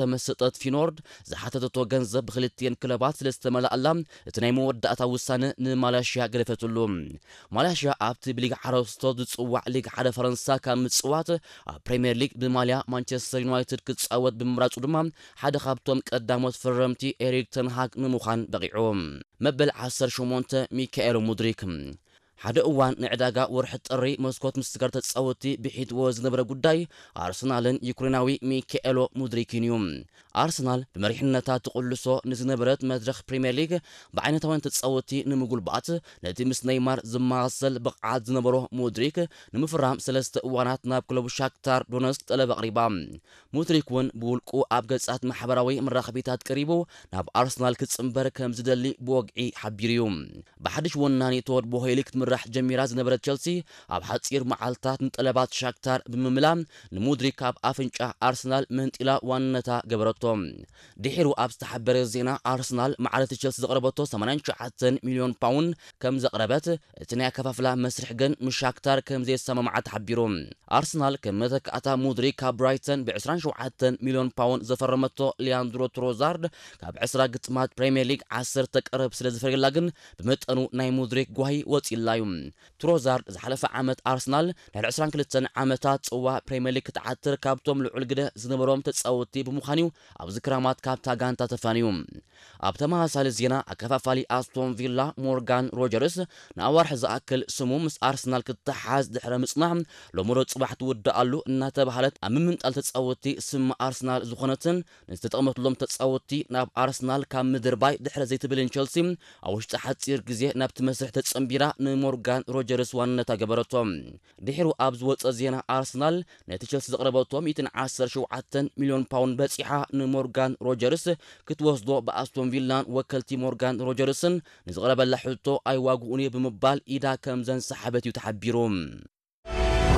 ዝተመሰጠት ፊኖርድ ዝሓተተቶ ገንዘብ ብክልቲኤን ክለባት ስለ ዝተመላኣላ፣ እቲ ናይ መወዳእታ ውሳነ ንማላሽያ ገደፈትሉ። ማላሽያ ኣብቲ ብሊግ ዓረስቶት ዝጽዋዕ ሊግ ሓደ ፈረንሳ ካብ ምጽዋት፣ ኣብ ፕሪምየር ሊግ ብማልያ ማንቸስተር ዩናይትድ ክጻወት ብምምራጹ ድማ ሓደ ካብቶም ቀዳሞት ፈረምቲ ኤሪክ ተንሃግ ንምዃን በቒዑ። መበል ዓሰርተ ሸሞንተ፣ ሚካኤሎ ሙድሪክ። ሓደ እዋን ንዕዳጋ ወርሒ ጥሪ መስኮት ምስጋር ተጻወትቲ ብሒትዎ ዝነበረ ጉዳይ ኣርሰናልን ዩክሬናዊ ሚካኤሎ ሙድሪክን እዩ። ኣርሰናል ብመሪሕነታ ትቕልሶ ንዝነበረት መድረኽ ፕሪምየር ሊግ ብዓይነታውያን ተጻወትቲ ንምጉልባት፣ ነቲ ምስ ኔይማር ዝመሳሰል ብቕዓት ዝነበሮ ሙድሪክ ንምፍራም ሰለስተ እዋናት ናብ ክለቡ ሻክታር ዶነስክ ጠለብ ኣቕሪባ። ሙድሪክ እውን ብውልቁ ኣብ ገጻት ማሕበራዊ መራኸቢታት ቀሪቡ ናብ ኣርሰናል ክጽንበር ከም ዝደሊ ብወግዒ ሓቢሩ እዩ። ብሓድሽ ወናኒ ቶድ ቦሄሊ ክትምራሕ ጀሚራ ዝነበረት ቸልሲ፣ ኣብ ሓጺር መዓልታት ንጠለባት ሻክታር ብምምላእ፣ ንሙድሪክ ካብ ኣፍንጫ ኣርሰናል መንጢላ ዋንነታ ገበረቶ። ድሒሩ ኣብ ዝተሓበረ ዜና፣ ኣርሰናል ማዕረ እቲ ቸልሲ ዘቕረበቶ ሰማንያን ትሽዓተን ሚልዮን ፓውንድ ከም ዘቕረበት፣ እቲ ናይ ኣከፋፍላ መስርሕ ግን ምስ ሻክታር ከም ዘየሰማምዓ ተሓቢሩ። ኣርሰናል ከም መተካእታ ሙድሪክ ካብ ብራይተን ብ ዕስራን ሸውዓተን ሚልዮን ፓውንድ ዘፈረመቶ ሊያንድሮ ትሮዛርድ፣ ካብ ዕስራ ግጥማት ፕሪምየር ሊግ ዓሰርተ ቀረብ ስለ ዝፈርየላ ግን፣ ብመጠኑ ናይ ሙድሪክ ጓሂ ወጺእላ እዩ። ትሮዛርድ ዝሓለፈ ዓመት ኣርሰናል ድሕሪ ዕስራን ክልተን ዓመታት ጽዋ ፕሪምየር ሊግ ክትዓትር ካብቶም ልዑል ግደ ዝነበሮም ተጻወትቲ ብምዃን እዩ ኣብዚ ክራማት ካብታ ጋንታ ተፋንዩ። ኣብ ተመሳሳሊ ዜና፣ ኣከፋፋሊ ኣስቶን ቪላ ሞርጋን ሮጀርስ ንኣዋርሕ ዝኣክል ስሙ ምስ ኣርሰናል ክተሓዝ ድሕረ ምጽናሕ፣ ሎሚ ሮብ ጽባሕ ትውድኣሉ እናተባህለት ኣብ ምምንጣል ተጻወትቲ ስም ኣርሰናል ዝኾነትን ንዝተጠቕመትሎም ተጻወትቲ ናብ ኣርሰናል ካብ ምድርባይ ድሕረ ዘይትብልን ቸልሲ፣ ኣብ ውሽጢ ሓጺር ግዜ ናብቲ መስርሕ ተጸንቢራ ንሞርጋን ሮጀርስ ዋንነታ ገበረቶ። ድሒሩ ኣብ ዝወጸ ዜና፣ ኣርሰናል ነቲ ቸልሲ ዘቕረበቶ ሚእትን ዓሰርተ ሸውዓተን ሚልዮን ፓውንድ በጺሓ ንሞርጋን ሮጀርስ ክትወስዶ ብኣስቶን ቪላን ወከልቲ ሞርጋን ሮጀርስን ንዝቐረበላ ሕቶ ኣይዋግኡን እየ ብምባል ኢዳ ከም ዘንሰሓበት እዩ ተሓቢሩ።